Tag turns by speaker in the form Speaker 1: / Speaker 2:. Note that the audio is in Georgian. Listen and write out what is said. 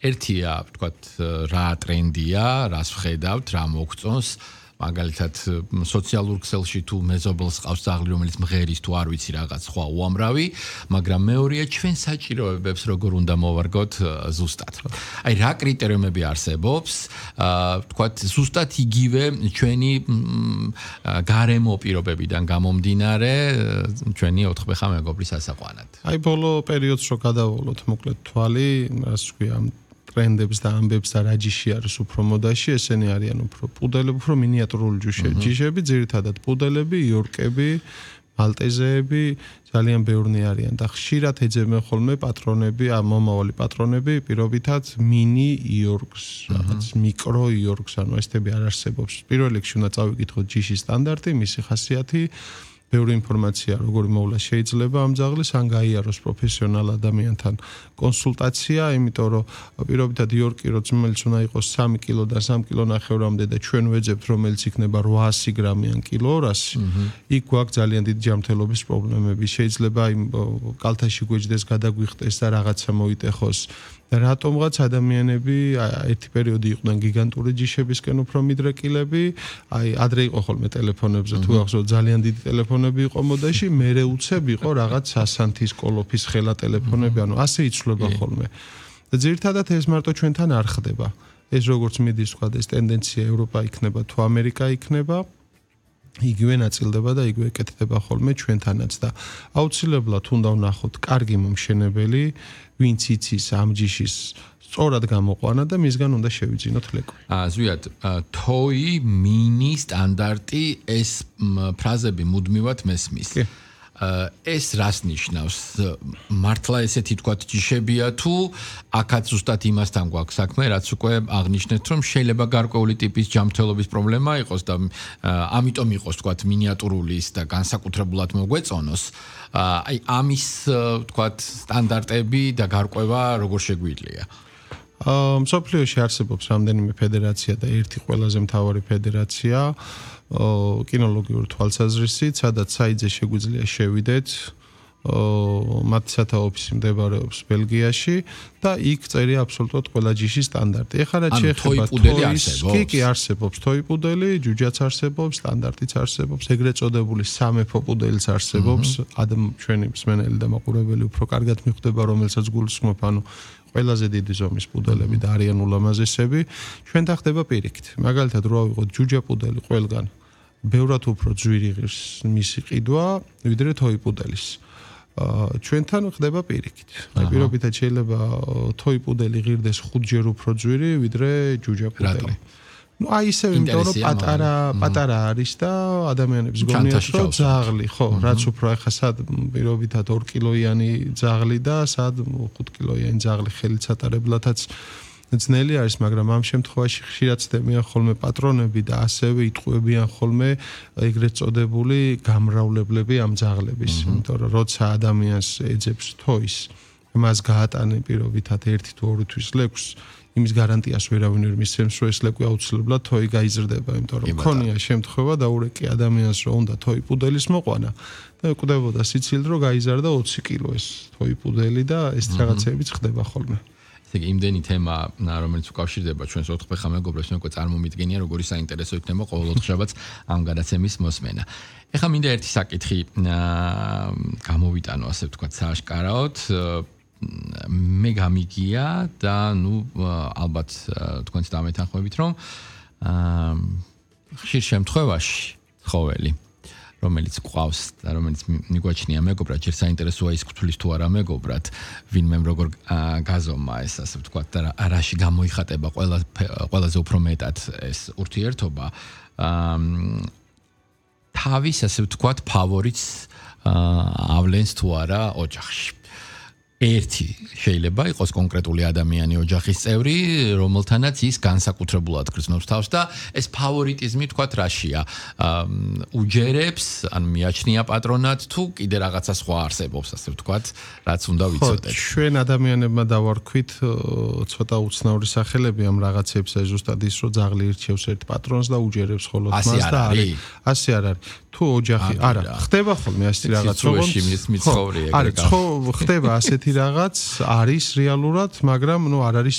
Speaker 1: ერთია, ვთქვათ, რა ტრენდია, რას ვხედავთ, რა მოგწონს, მაგალითად, სოციალურ ქსელში თუ მეზობელს ყავს ძაღლი, რომელიც მღერის თუ არ ვიცი რაღაც სხვა უამრავი, მაგრამ მეორეა ჩვენ საჭიროებებს როგორ უნდა მოვარგოთ ზუსტად. აი რა კრიტერიუმები არსებობს, ვთქვათ, ზუსტად იგივე ჩვენი გარემო პირობებიდან გამომდინარე, ჩვენი 4-5 მეგობრის ასაყვანად.
Speaker 2: აი ბოლო პერიოდს რო გადავალოთ მოკლედ თვალი, რას ვქვია, ტრენდებს და ამბებს და რა ჯიში არის უფრო მოდაში, ესენი არიან უფრო პუდელები, უფრო მინიატურული ჯიშები, ძირითადად პუდელები, იორკები, მალტეზეები, ძალიან ბევრნი არიან და ხშირად ეძებენ ხოლმე პატრონები, მომავალი პატრონები, პირობითად მინი იორკს, რაღაც მიკრო იორკს, ანუ ესები არ არსებობს. პირველ რიგში უნდა წავიკითხოთ ჯიშის სტანდარტი, მისი ხასიათი, ბევრი ინფორმაცია როგორი მოვლა შეიძლება ამ ძაღლის, ან გაიაროს პროფესიონალ ადამიანთან კონსულტაცია, იმიტომ რომ პირობითად იორკი რომელიც უნდა იყოს 3 კილოდან 3 კილონახევრამდე და ჩვენ ვეძებთ რომელიც იქნება 800 გრამი ან კილო 200, იქ გვაქვს ძალიან დიდი ჯანმრთელობის პრობლემები. შეიძლება იმ კალთაში გვეჯდეს, გადაგვიხტეს და რაღაცა მოიტეხოს. და რატომღაც ადამიანები ერთი პერიოდი იყვნენ გიგანტური ჯიშებისკენ უფრო მიდრეკილები, აი ადრე იყო ხოლმე ტელეფონებზე თუ ახსოვთ ძალიან დიდი ტელეფონები იყო მოდაში, მერე უცებ იყო რაღაც სასანთის კოლოფის ხელა ტელეფონები, ანუ ასე იცვლება ხოლმე. და ძირითადად ეს მარტო ჩვენთან არ ხდება. ეს როგორც მიდის თქვა ეს ტენდენცია ევროპა იქნება თუ ამერიკა იქნება, იგივე ნაწილდება და იგივე ეკეთდება ხოლმე ჩვენთანაც და აუცილებლად უნდა ვნახოთ კარგი მომშენებელი, ვინც იცის ამ ჯიშის სწორად გამოყვანა და მისგან უნდა შევიძინოთ ლეკვი.
Speaker 1: ზვიად, თოი, მინი, სტანდარტი, ეს ფრაზები მუდმივად მესმის. ეს რას ნიშნავს? მართლა ესეთი თქვათ ჯიშებია თუ აქაც ზუსტად იმასთან გვაქვს საქმე, რაც უკვე აღნიშნეთ, რომ შეიძლება გარკვეული ტიპის ჯანმრთელობის პრობლემა იყოს და ამიტომ იყოს თქვათ მინიატურულის და განსაკუთრებულად მოგვეწონოს. აი ამის თქვათ სტანდარტები და გარკვევა როგორ შეგვიძლია?
Speaker 2: მსოფლიოში არსებობს რამდენიმე ფედერაცია და ერთი ყველაზე მთავარი ფედერაცია კინოლოგიური თვალსაზრისით, სადაც საიძე შეგვიძლია შევიდეთ, მათი სათავო-ოფისი მდებარეობს ბელგიაში და იქ წერია აბსოლუტურად ყველა ჯიშის სტანდარტი. ეხლა რაც შეეხება
Speaker 1: კი
Speaker 2: არსებობს თოი პუდელი, ჯუჯაც არსებობს, სტანდარტიც არსებობს, ეგრეთ წოდებული სამეფო პუდელიც არსებობს, ჩვენი მსმენელი და მაყურებელი უფრო კარგად მიხვდება, რომელსაც გულისხმობ, ანუ ყველაზე დიდი ზომის პუდელები და არიან ულამაზესები, ჩვენთან ხდება პირიქით. მაგალითად, რო ავიღოთ ჯუჯა პუდელი ყველგან, ბევრად უფრო ძვირი ღირს მისი ყიდვა, ვიდრე თოი პუდელის. ჩვენთან ხდება პირიქით. აი პირობითად შეიძლება თოი პუდელი ღირდეს 5-ჯერ უფრო ძვირი, ვიდრე ჯუჯა პუდელი. ну აი ისე იმიტომ რომ პატარა არის და ადამიანებს გონიათ რომ ძაღლი ხო რაც უფრო ახლა სად პირობითად 2 კილოიანი ძაღლი და სად 5 კილოიანი ძაღლი ხელით ატარებლათაც ძნელი არის, მაგრამ ამ შემთხვევაში ხშირად ცდებიან ხოლმე პატრონები და ასევე იტყუებიან ხოლმე ეგრეთ წოდებული გამრავლებლები ამ ძაღლების, იმიტომ რომ როცა ადამიანს ეძებს თოის, მას გაატანენ პირობითად 1 თუ 2 თვის ლეკვს, იმის გარანტიას ვერავინ ვერ მისცემს, რომ ეს ლეკვი აუცილებლად თოი გაიზრდება, იმიტომ რომ ქონია შემთხვევა დაურეკი ადამიანს, რომ უნდა თოი პუდელის მოყვანა და კვდებოდა სიცილით, რომ გაიზარდა 20 კილო ეს თოი პუდელი და ეს რაღაცებიც ხდება ხოლმე.
Speaker 1: იმდენი თემა, რომელიც უკავშირდება ჩვენს 4-5 მეგობრებს, მე უკვე წარმომიდგენია, როგორი საინტერესო იქნება ყოველ ოთხშაბათს ამ გადაცემის მოსმენა. ეხლა მინდა ერთი საკითხი გამოვიტანო, ასე ვთქვათ, სააშკარაოდ. მე გამიგია და ნუ ალბათ თქვენც დამეთანხმებით, რომ ხშირ შემთხვევაში ცხოველი რომელიც ყავს და რომელიც მიგვაჩნია მეგობრად, ჯერ საინტერესოა ის გვთვლის თუ არა მეგობრად, ვინმე როგორ გაზომა ეს ასე ვთქვათ და რაში გამოიხატება ყველაზე უფრო მეტად ეს ურთიერთობა, თავის ასე ვთქვათ ფავორიტს ავლენს თუ არა ოჯახში. ერთი შეიძლება იყოს კონკრეტული ადამიანი ოჯახის წევრი, რომელთანაც ის განსაკუთრებულად გრძნობს თავს და ეს ფავორიტიზმი თქვათ რაშია? უჯერებს, ან მიაჩნია პატრონად თუ კიდე რაღაცა სხვა არსებობს, ასე ვთქვათ, რაც უნდა ვიცოდეთ.
Speaker 2: ჩვენ ადამიანებმა დავარქვით ცოტა უცნაური სახელები ამ რაღაცებს, ზუსტად ის, რომ ძაღლი ირჩევს ერთ პატრონს და უჯერებს ხოლმე მას და არის. ასე არ არის. თუ ოჯახი არა, ხდება ხოლმე ასეთი რაღაც,
Speaker 1: მიცხოვრია ეგრე.
Speaker 2: ხდება ასეთი რაღაც, არის რეალურად, მაგრამ ნუ არ არის